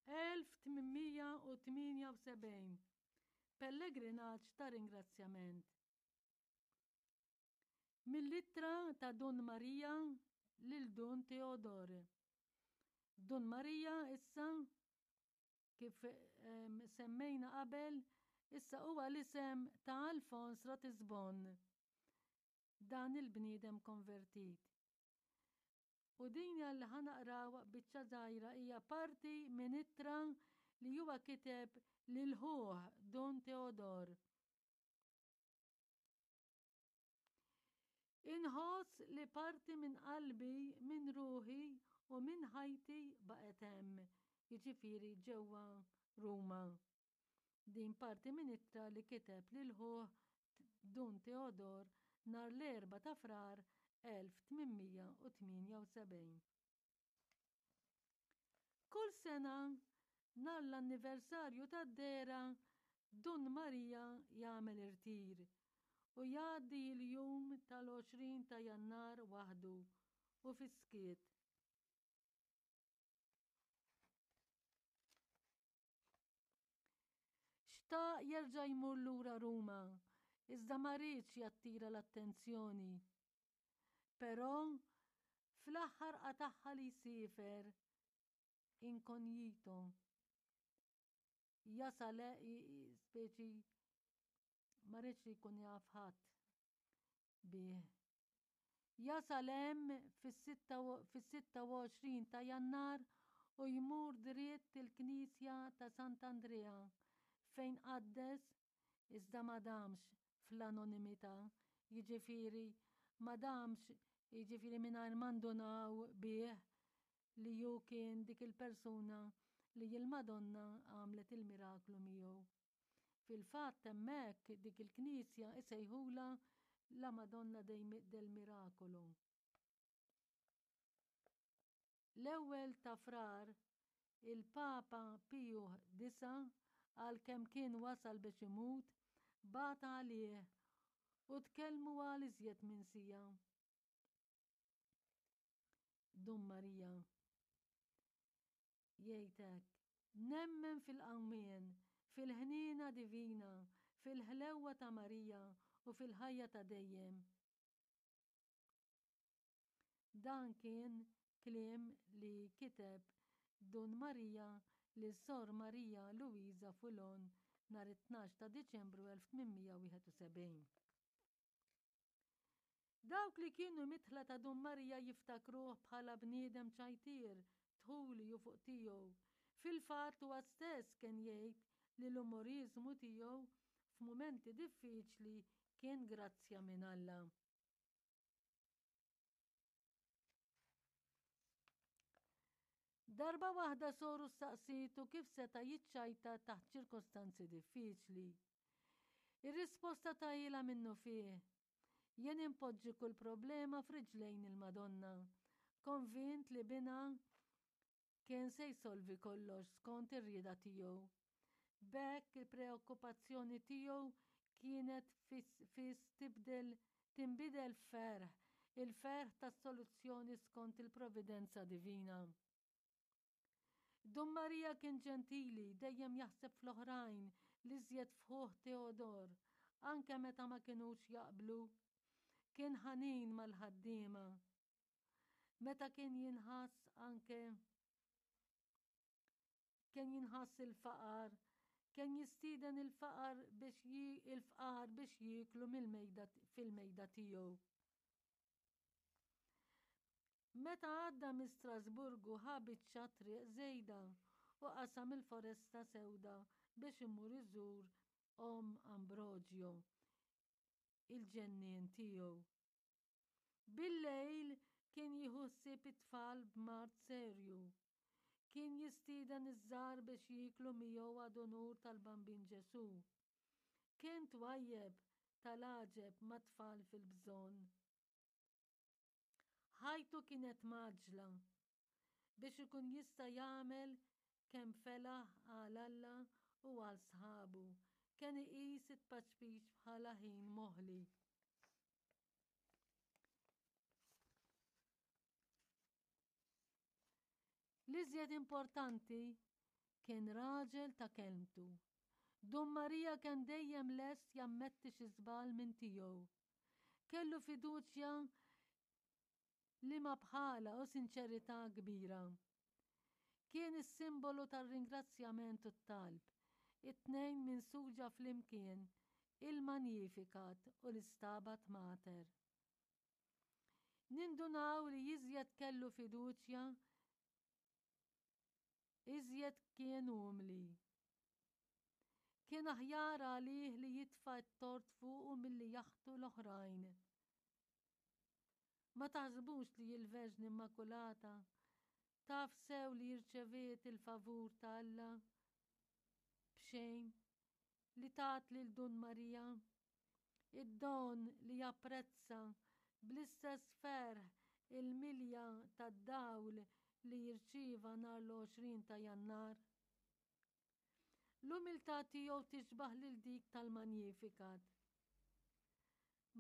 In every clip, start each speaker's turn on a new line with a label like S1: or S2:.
S1: 1878 Pellegrinaġġ ta' ringrazzjament. Mill-ittra ta' Dun Marija lil Dun Teodor. Dun Marija issa kif semmejna qabel, issa huwa l-isem ta' Alfons Ratisbon, dan il-bniedem konvertit. U din li ħa naqraw biċċa żgħira hija parti minn ittra li huwa kiteb lil ħuh Dun Teodor. Inħoss li parti minn qalbi, minn ruħi u minn ħajti baqgħet hemm, jiġifieri ġewwa Ruma. Din parti minn ittra li kiteb lil ħuh Dun Teodor nhar l-Erbgħa ta' Frar 1878. Kull sena, nhar l-anniversarju tad-dehra, Dun Marija jagħmel irtir u jgħaddi l-jum tal-20 ta' Jannar waħdu u fis-skiet. Xtaq jerġa' jmur lura Ruma, iżda ma riedx jattira l-attenzjoni. Però, fl-aħħar qatagħha li jsiefer inkonjito. Jasal speċi ma riedx li jkun jaf ħadd bih. Jasal hemm fis-26 ta' Jannar u jmur dritt il-knisja ta' Sant'Andrea fejn qaddes iżda ma damx fl-anonimità, jiġifieri ma damx jiġifieri mingħajr ma ndunaw bih li hu kien dik il-persuna li l-Madonna għamlet il-miraklu miegħu. Fil-fatt hemmhekk dik il-knisja isejħulha La Madonna del Miracolo. L-ewwel ta' Frar, il-Papa Piju IX, għalkemm kien wasal biex imut, bagħat għalih u tkellmu għal iżjed minn siegħa. Dun Marija jgħid hekk, Nemmen fil-qawmien, fil-ħniena divina, fil-ħlewwa ta' Marija u fil-ħajja ta' dejjem. Dan kien kliem li kiteb Dun Marija lil Sor Marija Luisa Fulon nhar it-tnax ta' Diċembru 1871. Dawk li kienu midħla ta' Dun Marija jiftakruh bħala bniedem ċajtier, dħuli u fuq tiegħu. Fil-fatt huwa stess kien jgħid li l-umoriżmu tiegħu f'mumenti diffiċli kien grazzja minn Alla. Darba waħda soru staqsietu kif seta' jiċċajta taħt ċirkostanzi diffiċli. Ir-risposta tahielha minnufih, Jien inpoġġi kull problema f'riġlejn il-Madonna, konvint li binha Kien se jsolvi kollox skont ir-rieda tiegħu. B'hekk il-preokkupazzjoni tiegħu kienet fis tibdel tinbidel f'ferħ, il-ferħ tas-soluzzjoni skont il-providenza divina. Dun Marija kien ġentili, dejjem jaħseb fl-oħrajn, l-iżjed f'ħuh Teodor, anke meta ma kinux jaqblu. Kien ħanin mal-ħaddiema. Meta kien jinħass anke kien jinħass il-faqar, kien jistieden il-faqar biex il-fqar biex jieklu mill-mejda fil-mejda tiegħu. Meta għadda minn Strasburgu ħa biċċa triq żejda u qasam il-foresta sewda biex imur iżur omm Ambrogio, il-ġennien tiegħu. Bil-lejl kien jieħu ħsieb it-tfal b'mard serju. Kien jistieden iż-żgħar biex jieklu miegħu ad unur tal-Bambin Ġesù. Kien twajjeb tal-għaġeb mat-tfal fil-bżonn. Ħajtu kienet mgħaġġla biex ikun jista' jagħmel kemm felaħ għal Alla u għal sħabu. Kien iqis it-tpaċpiċ bħala ħin moħli. L-iżjed importanti. Kien raġel ta' kelmtu. Dun Marija kien dejjem lest jammetti xi żball minn tiegħu. Kellu fiduċja liema bħalha u sinċerità kbira. Kien is-simbolu tar-ringrazzjament u t-talb, it-tnejn minsuġa flimkien, il-Magnificat u l-Istabat Mater. Nindunaw li iżjed kellu fiduċja, iżjed kien umli. Kien aħjar għalih li jitfa' t-tort fuqu milli jaħtu l-oħrajn. Ma taħsbux li l-Verġni Immakulata taf sew li rċeviet il-favur ta' Alla b'xejn li tat lil Dun Marija id-don li japprezza bl-istess ferħ il-milja tad-dawl li jirċieva nhar l-20 ta' Jannar? L-umiltà tiegħu tixbah lil dik tal-Magnificat.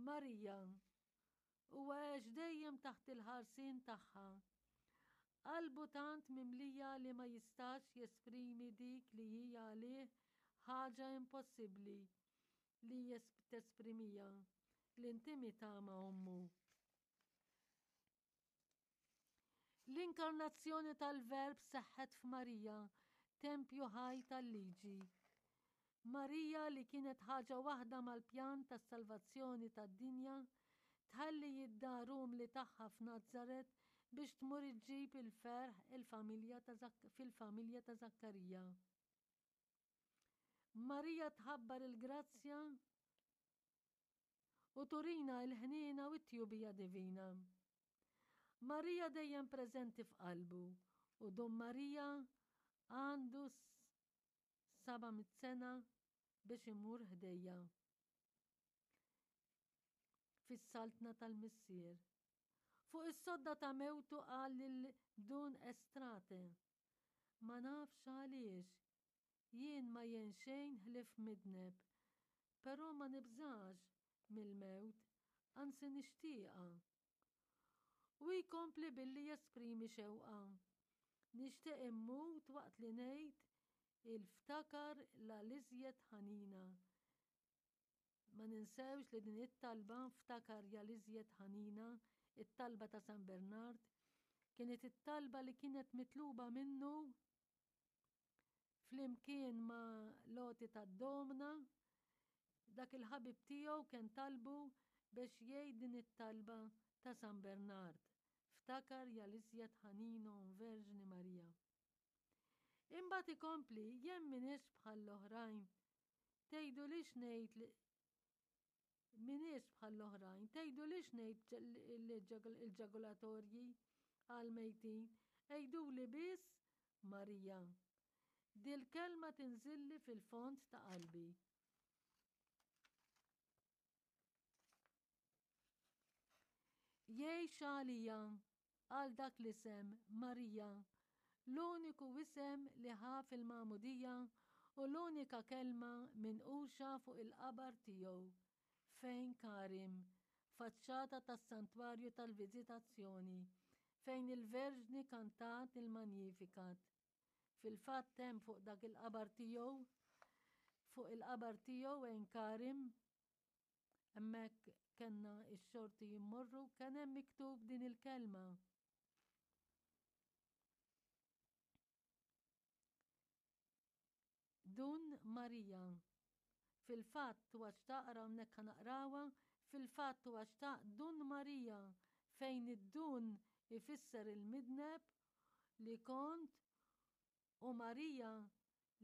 S1: Marija, huwa għex dejjem taħt il-ħarsien tagħha. Qalbu tant mimlija li ma jistax jesprimi dik li hi għalih ħaġa impossibbli li tesprimiha, l-intimità ma' ommu. L-inkarnazzjoni tal-Verb seħħet f'Marija, tempju ħaj tal-liġi. Marija li kienet ħaġa waħda mal-pjan tas-salvazzjoni tad-dinja, tħalli id-dar umli tagħha f'Nazaret biex tmur iġġib il-ferħ il-familja fil-familja ta' Żakkarija. Marija tħabbar il-grazzja u turina l-ħniena u t-tjubija divina. Marija dejjem preżenti f'qalbu u Dun Marija għandu 700 sena biex imur ħdejja fis-saltna tal-Missier. Fuq is-sodda ta' mewtu qal lil Dun Estrate, Ma nafx għaliex, jien ma jien xejn ħlief midneb, però ma nibżax mill-mewt, anzi nixtieqha. U jkompli billi jesprimi xewqa, Nixtieq immut waqt li ngħid il-ftakar la l-iżjed ħanina. Ma ninsewx li din it-talba, Ftakar ja l-iżjed ħanina, it-talba ta' San Bernard, kienet it-talba li kienet mitluba minnu flimkien ma' l-għoti tad-domna, dak il-ħabib tiegħu kien talbu biex jgħid din it-talba ta' San Bernard, Ftakar ja l-iżjed ħanina Omm Verġni Marija. Imbagħad ikompli, jien m'iniex bħall-oħrajn. Tgħidulix ngħid li m'iniex bħall-oħrajn, tgħidulix ngħid il-ġagulatorji għall-mejtin, għiduli biss Marija. Dil-kelma tinżilli fil-fond ta' qalbi. Jgħix għalija għal dak l-isem, Marija, l-uniku isem li ħa fil-magħmudija u l-unika kelma minquxa fuq il-qabar tiegħu, fejn Karim, faċċata tas-Santwarju tal-Viżitazzjoni, fejn il-Verġni kantat il-Magnificat. Fil-fatt hemm fuq dak il-qabar tiegħu, fuq il-qabar tiegħu Ein Karim, hemmhekk kellna x-xorti jimmorru, kien hemm miktub din il-kelma. Dun Marija. Fil-fatt huwa xtaq, ara hawnhekk ħa naqrawha, fil-fatt huwa xtaq Dun Marija fejn id-dun ifisser il-midneb li kont u Marija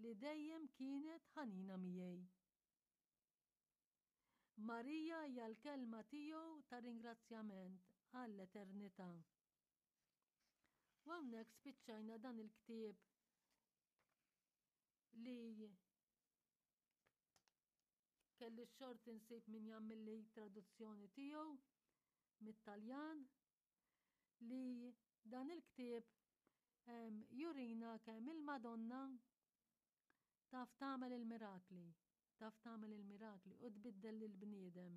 S1: li dejjem kienet ħanina miegħi. Marija hija l-kelma tiegħu ta' ringrazzjament għall-eternità. U hawnhekk spiċċajna dan il-ktieb li kelli x-xorti nsib min jagħmilli traduzzjoni tiegħu mit-Taljan li dan il-ktieb jurina kemm il-Madonna taf tagħmel il-mirakli, taf tagħmel il-mirakli u tbiddel lill-bniedem.